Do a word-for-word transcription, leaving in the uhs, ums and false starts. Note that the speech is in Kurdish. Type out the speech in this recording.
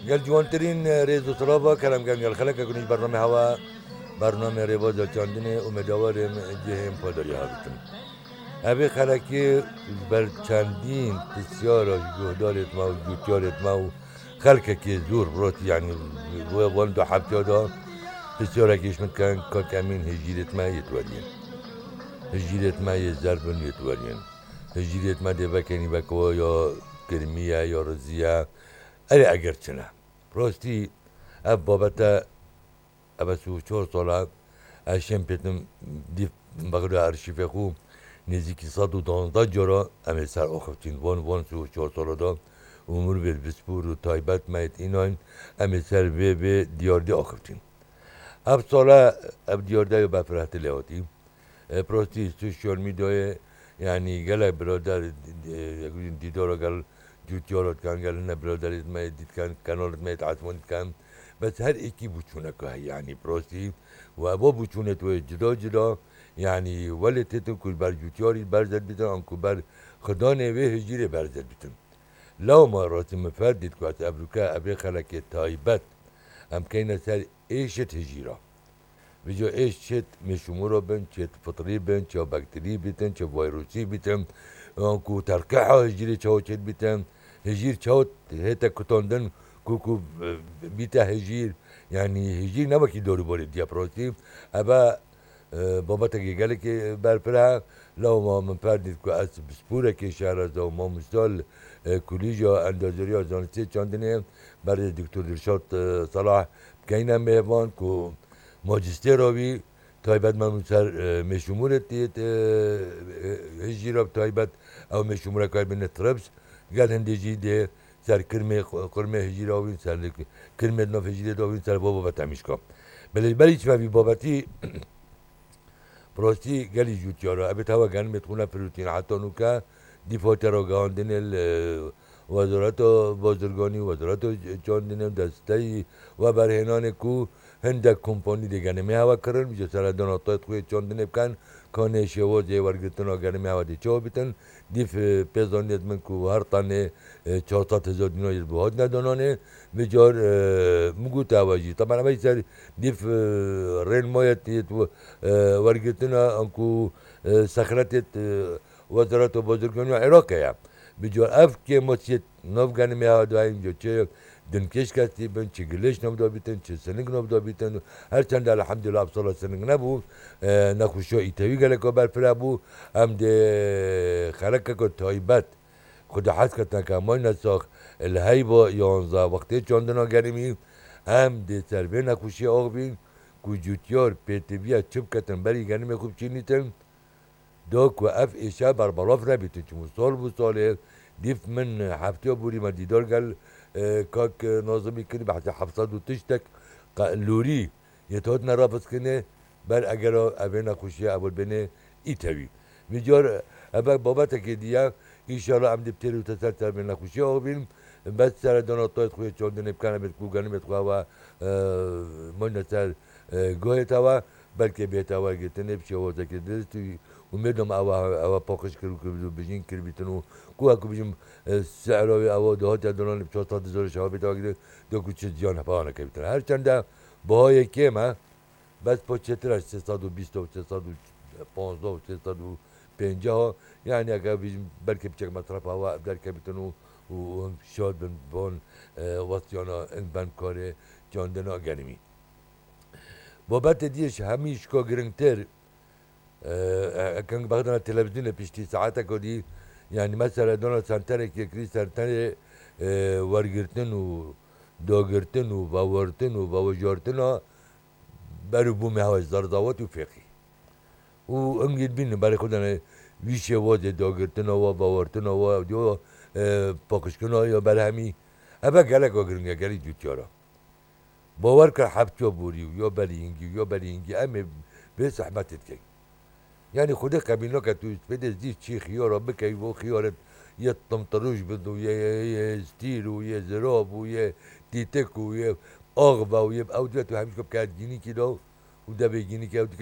Gel ciwantirîn rêz û silava kerem kem gel xeleke kunî ji bername hewa, bername rêbaza çandinê û medawarê cihên padarî habitim. Evê xelekê ji ber çendîn pisyara ji guhdarê me û cûtyarê me û xelkekê zor rotî, yanî we wan du heftiya da pisyarekî ji min dikin, Kak Emîn, hijîrêt me yê tuweriyên. Hijîrêt me yê zerb in yê tuweriyên. Hijîrêt me dê vekenî vekwa ya kirmî ye ya rizî ye. Erê eger çi ne. Rastî ev babete, ev e sî û çar sala ez şêm pêtim dîv bexda arşîvê xwe nêzîkî sed û duwazdeh cara em ê ser axiftin. Van, van sî û çar sala da û mirvê bispûr û taybet me yê înan em ê ser vê, vê diyardê axiftin. Ev sala ev diyardeya berfirehtir lê hatî. E, prostî, sosyal medyayê, yanî gelek birader, e, dîdara gel cûtiyara dikan, gel hine biraderê me dîtkan, kanalê me esmanî dikan. Bes her êkî bûçûneka heye, yanî prostî. Û eva bûçûnê tu cida cida, yanî welê têtin ku ber cûtiyarî berze dibîtin, an ku ber xidanê wê hijîrê berze dibîtin. Lewma rastî min ferdît ku ez evroke evê xelekê taybet em keyne ser êşit hijîra. Vêca êş çêt mêşûmûra bin, çêt fitrî bin, çêt bakterî bîtin, çêt vayrûsî bîtin, yan ku terqiha hijîrê çawa çêt bîtin, hijîr çawa hête kutandin ku, ku, e, bîte hijîr, yanî hijîr ne wekî dorûbarê diya prostî. Eve, e, babetekê gelekê berfireh e. Lewma min ferdît ku ez pisporekê şehra ze û mamosta li, e, Kulîja Endazeriya Zanistê Çandinê berê Doktor Dilşad, e, Salah bikeyne mêvan ku majistêra wî taybet me ser, e, mêşûmûrê tê, e, e, hijîra bi taybet ew mêşûmûreka bîne trips, gel hindê jî dê ser kirmê, qurmê hijîra wî, ser kirmê di nav hijîrê de wî ser bo babet hemîşka. Belê ji berî çi me vî babetî Bi rastî gelî cûtiyar e. Ebê tewa genimê xwe nefirûtîn. Heta nûke dîf hate ragihandinê li Wezareta Bazirganî, Wezareta Çandinê û desteyî weberhênanê ku hindek kompanî dê genimê hewe kirin. Ji seredana tayt xwe yê çandinê bikin, kanê şêwazê wergirtina genimê hewe dê çawa bitin. Dîf, e, pê zanît min ku her tanê, e, çar sed hezar dînar yê bo hatine dananê. Vê car, e, min got ewa jî. Teban ewa jî ser dîf, e, rên mayet yê tu, e, wergirtina anku, e, sexletê, e, Wezareta Bazirganiya Iraqê ye. Vê car ev kêmasiyê nav genimê ha dayîn, çi dinkêş kestî bin, çi gilêş nav da bîtin, çi sining nav da bîtin. Her çend elhamdulillah ev sala sining nebû, e, nexweşiya îtewî geleka berfireh bû. Em dê xelekeke taybet Xwedê hez ketine ke mayne sax li heyva yanzdeh wextê çandina genimî, em dê ser vê nexweşiyê axivîn ku cûtiyar pêtiviya çi biketin berî genimê xwe biçînîtin, da ku ev êşe berbelav nebîtin. Çimû sal bû salê, dîf min heftiya borî me dîdar gel, e, kak Nazimî kirî, behsê heft sed û tiştek qe-, lorî yê hatine rafiskirine, ber eger evê nexweşiye ew bêne îtewî. Vî car eve babetekê diye, înşallah em dê bi têr û teser ser vê nexweşiye axivîn. Bes seredana tayt xwe yê çandinê bikin, em ê ku genimê xwe ewe, e, mayne ser, e, guhê te we, belkê bêhte wergirtinê bi şêwazekê dirist û, û mêdom ewe, ewe paqij kir û kir û bijîn kiribîtin û ku, ku bijim, e, sehra wê ewe dihatiye dolanê bi çar sed hezar şewa bêhte wergirtin, da ku çi ziyan hefa nekevîtin. Her çende bihayê kêm e, Bes po çêtir e sê sed û bîst û sê sed û panzdeh û sê sed û pêncah, yanî eke bijim belkî piçek mesrefa wa ev derkevîtin û, û, û him şad bin von, e, westiyana in ben karê çandina genimî. Babetê diyê ji hemî şika giringtir, e, e, eke bexdana televîzyonê piştî saeteke dî, yanî mesela dana senterekê kirî senterê, e, wergirtin û dagirtin û vewertin û vewejartina Berû bû me hewa zerzawet û fêqî. Û hingî dibînin berê xwe dane wî şêwazê dagirtina wa, bawertina wa, diyo, e, paqijkirina ya berhemî. Eve geleka giring e, gelî cûtiyar e. Bawer ke heftiya borî û ya berî hingî û ya berî hingî em ê vê zehmetê dikeyn. Yanî Xwedê qebîl nake tu spêdê zî çî xiyara bikey, vo xiyaret yê timtirûj bid û yê, yê, yê stîr û yê zirav û yê tîtik û yê ax be û yê ew dibe tu hemîşka bikeye gînîkî de û devê gînîkê ew dike.